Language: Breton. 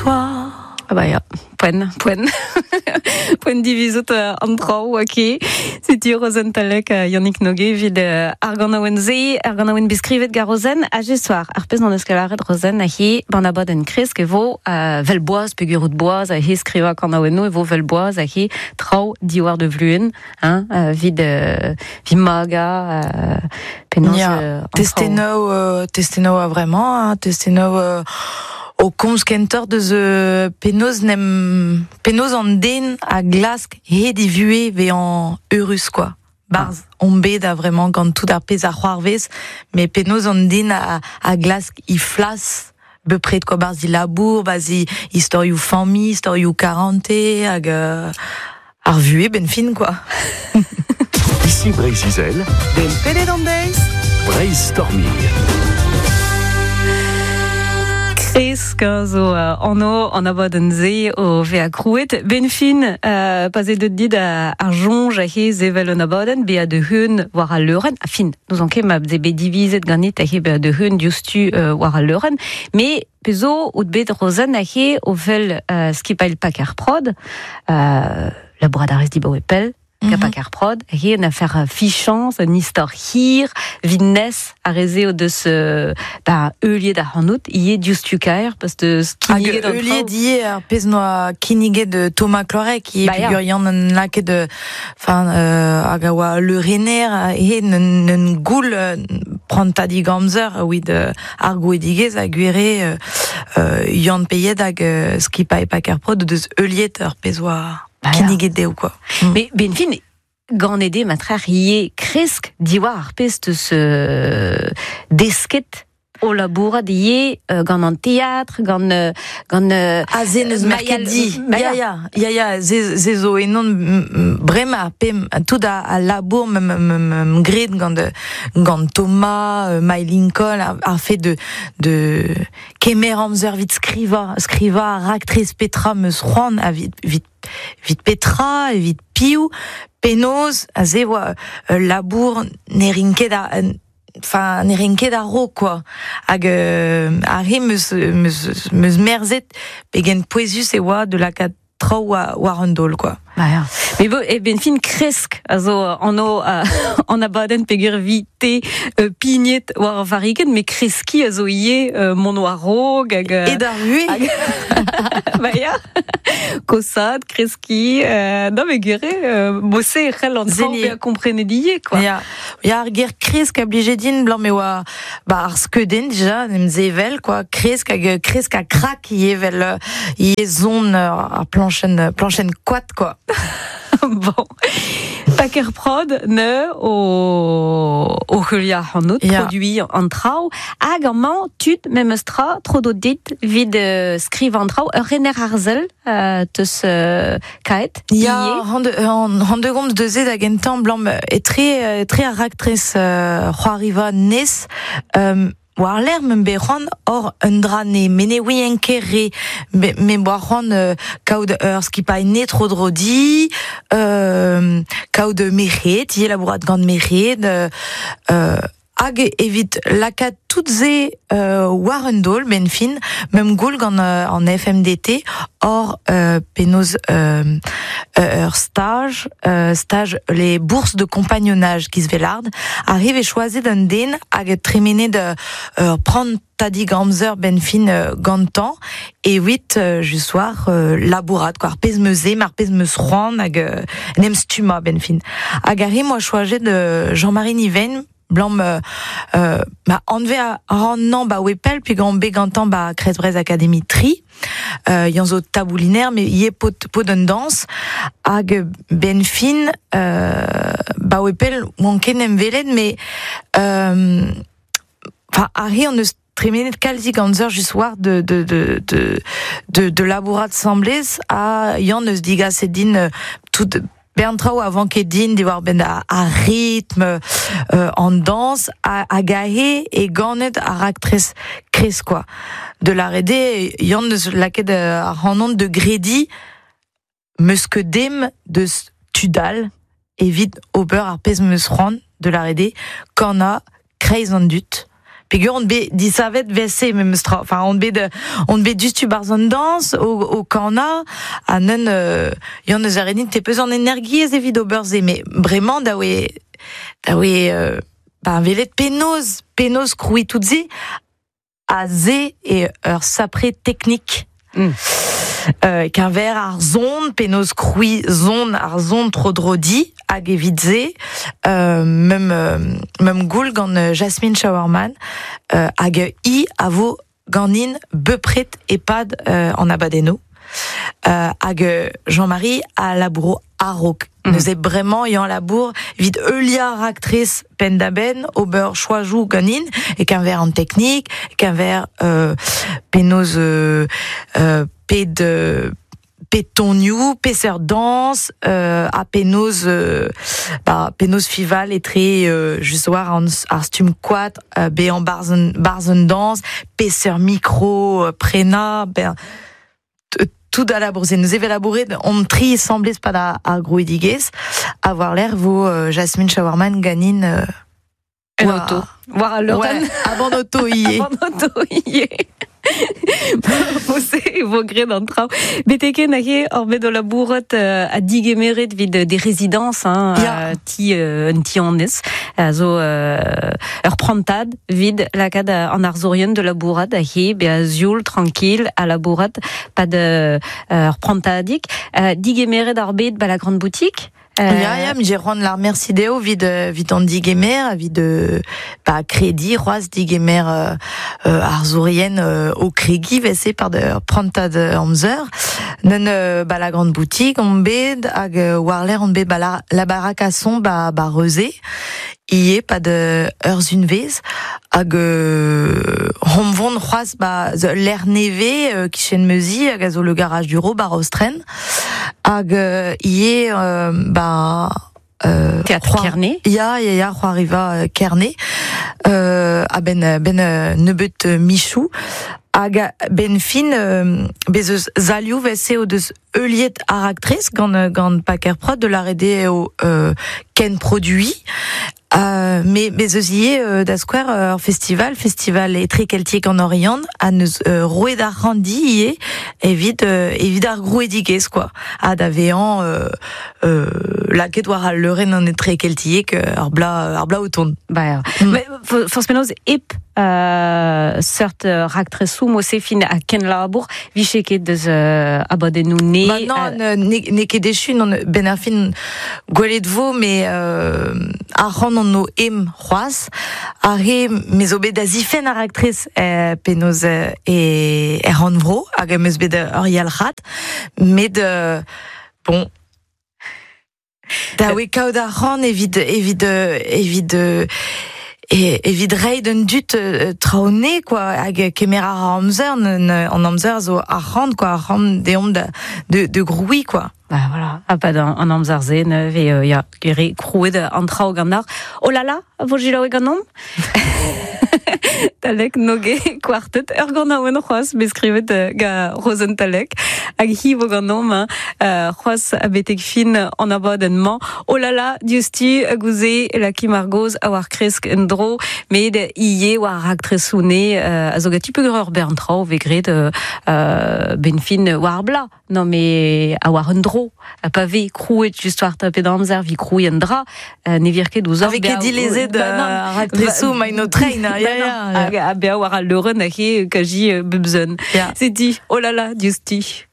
toi. Ah ba ya, poent, poent. Poent divizout an traoù, ok. Setu Rozenn Talec, Yannick Noguet evit ar ganaouenn-se, ar ganaouenn bet skrivet gant Rozenn ha soir. Ar pezh n'on eus ket lâret Rozenn he ban abadenn kresk e vo vel boaz peogwir out boaz he skrivañ kanaouennoù e vo vel boaz he traoù diwar de vluen, hein, evit evit magañ penaos Ya, an traoù. Testennoù, testennoù a vremañ, hein, testennoù o komz kentoc'h deus penaos n'em penaos an den a glask hed e vuhez vezañ eurus quoi. Barzh on bet a vremañ gant tout ar pezh a c'hoarvez, met penaos an den a glask he flas bepred quoi, barzh e labour, barzh e istorioù familh, istorioù karante hag ar vuhez benn fin quoi. Ici Breizh-Izel, Den pedet an deiz. Breizh Storming. Kresk zo anv an abadenn-se o vezañ krouet. Ben fin, pa 'z eo deuet dit ar soñj he sevel un abadenn, bezañ da heun war al leurenn. A fin, n'ouzon ket ma 'z eo bet divizet ganit he bezañ da heun diouzhtu war al leurenn. Mais pezh zo out bet Rozenn he o vel skipailh Paker Prod, labourat a rez dibaoe pell, mm -hmm. Prod, he un affaire fichañs, un istor hir, vit nes ar re-se o deus ba heuliet ac'hanout, ivez diouzhtu kaer, parce deus kinniget an heuliet ivez ar pezh noa kinniget Thomas Cloarec, ivez ba, peogwir Yann en lakaet enfin hag a oa leurenner he un goul prantadig amzer evit ar gouedigezh ha gwir eo Yann Peiet hag skipailh Paker Prod o deus heuliet ar pezh oa kinniget dezho quoi. Mais ben fin ganet eo matrec'h ivez kresk diwar ar pezh teus desket o labourat ivez gant an teatr, gant gant Ah, se n'eus merket di. Ya, ya, ya, ya, se zo enon bremañ pem tout a labour m graet gant gant Thomas, Mai Lincoln, ar fait de kemer amzer evit skrivañ, skrivañ ar raktres petra 'm eus c'hoant ha evit evit petra, evit piv, penaos, aze oa ul labour ne rin ket a enfin ne rin ket a-raok quoi. Hag ar re 'm eus merzet pegen pouezus e oa de lakaat traoù war un daol quoi. Ba ya. Mais bo, e ben fin kresk a zo anv an abadenn peogwir vi te pignet war ar varrikenn, met kreskiñ a zo ivez mont war-raok hag E d'ar vuhez. Ba ya. Kosaat, kreskiñ, non mais gwir eo, mod-se e c'hell an traoù bezañ komprenet ivez quoi. Ya, ya ar ger kresk a blije din blam e oa ba ar skeudenn dija, en em sevel quoi, kresk hag kresk ha krak ivez vel ivez son ar plañchenn plañchenn koad quoi. Bon. Paker Prod ne o heuliañ ac'hanout, Ya. produiñ an traoù, hag amañ tud memes tra, tro do dit evit skrivañ an traoù, ur rener arzel teus kaet Ya, ivez. han de gomz deus da gentañ blam etre etre ar raktres c'hoariva nes war-lerc'h m'em bet c'hoant hor un dra ne me ne ouien ket re me boa c'hoant kaout ur skipailh ne tro-dro di kaout merc'hed ivez labourat gant merc'hed hag evit lakaat tout se war un daol benn fin meump goul gant an FMDT hor penaos ur staj staj les bourses de compagnonnage giz velard arrive e choazet un den hag tremenet ur prantadig amzer benn fin gantañ evit just war labourat quoi ar pezh 'm eus ar pezh 'm eus c'hoant hag en em stummañ benn fin hag ar re 'moa choajet Jean-Marie Niven blam ma anve a ran ba oe pell peogwir on bet gantañ ba Kreiz Breizh Academy tri Yann zo tabouliner mais ivez paotr un dañs hag benn fin ba oe pell oan ket 'n em welet mais enfin ar re hon eus tremenet kalzik amzer just war de labourat 'samblez ha Yann eus digaset din tout bern traoù a vanke din diwar-benn ar ritm an dañs hag aze e ganet ar raktres kresk quoi. De lâret eo Yann eus lakaet ac'hanon de grediñ 'm eus ket dem deus tud all evit ober ar pezh 'm eus c'hoant de lâret eo kanañ kreiz an dud. Peogwir on bet disavet vese memes tra. Enfin, on bet dustu barzh an dañs o kanañ, ha neun yann eus ar renin te peus an energiezh evit ober se, met bremañ da oe ba velet penaos krouiñ tout se, a se e ur sapre teknik. Keñver ar zon, penaos krouiñ zon ar zon tro-dro-di, hag evit se, mem goul gant Jasmine Schauermann, hag i a vo ganin bepred epad an abadenno. Hag Jean-Marie a labouro a-raok. Neuze bremañ yañ labour evit heuliañ raktres penn-da-benn, ober choajoù ganin, e keñver an teknik, e keñver penaos ped tonioù, peseurt dañs, ha penaos penaos fival etre just war ar stumm koad, bezañ barzh un dañs, peseurt mikro prenañ, ben tout a labour se. Nous evel labouret on tri semblez pa da ar grouidigezh, a war l'air vo Jasmine Schauermann ganin en auto. War al leurenn. Ouais, avant auto ie. Avant auto ie. Mose vo graet an traoù. Beteken ahe ur bet o labourat a digemeret vid des résidences, hein, ti un ti annez, a zo ur prantad vid lakaat an arzourien de labourat ahe be a zioul tranquille a labourat pa de ur prantadig. Digemeret ar bet ba la grande boutique. Ya, j'ai c'hoant lar merci dezho vid an digemer, vid ba kredi c'hoazh digemer arzourien o kregi vese par de prantad amzer. Neun ba la grande boutique on bet hag war l'air on bet ba la baraque à son ba reuze. Ie pa de ur zunvez hag hom vont c'hoazh ba l'air neve kichen meuzi hag a zo le garage du ro ba Rostren hag ie ba Théâtre Kerne. Ya c'hoariva Kerne a ben nebeut Michou hag ben fin bez eus zalioù vese o deus heuliet ar aktrez gant Paker Prod de la rede o ken produit. Mais eus ie da skouer ur festival etrekeltiek an Oriant a neus roet ar randi ie evit ar grouedigezh quoi, ha da vezañ lakaet war al leurenn an etrekeltiek ar bla o tont. Ba forzh penaos ep seurt raktresoù mose fin a ken labour viche ket deus abadennoù ne. Ba non, ne ket echu non ben ar fin gwelet vo mais ar c'hant an o em c'hoazh ar re me zo bet da zifen ar aktrez penaos e er rannvro hag em eus bet ur yalc'had met bon da oe kaout ar c'hant evit evit reiñ d'un dut traoù-ne quoi hag kemer ar amzer an amzer zo ar c'hant quoi ar c'hant deomp de groui quoi. Bah voilà, a pad an amzer se ne ve ya gere krouet an traoù gant ar. Oh là là, vo jilaoue ganeomp. Talek noge kwartet ur ganaouenn c'hoazh bet skrivet ga Rozenn Talek hag hi vo ganeomp c'hoazh a betek fin an abadenn-mañ. Oh là là, diouzhtu gouze laki Margoz a war kresk en dro met ie war raktresoù ne a zo gati peogwir ur bern traoù ve graet ben fin war bla. Non mais a war un dro pa ve krouet just war tapet amzer vi krouet un dra ne vir ket ouzh Avec dilezet raktresoù main o train. Ya, a bea war al leurenn a he kaji bebzun. C'est dit, oh là là, diouzhtu.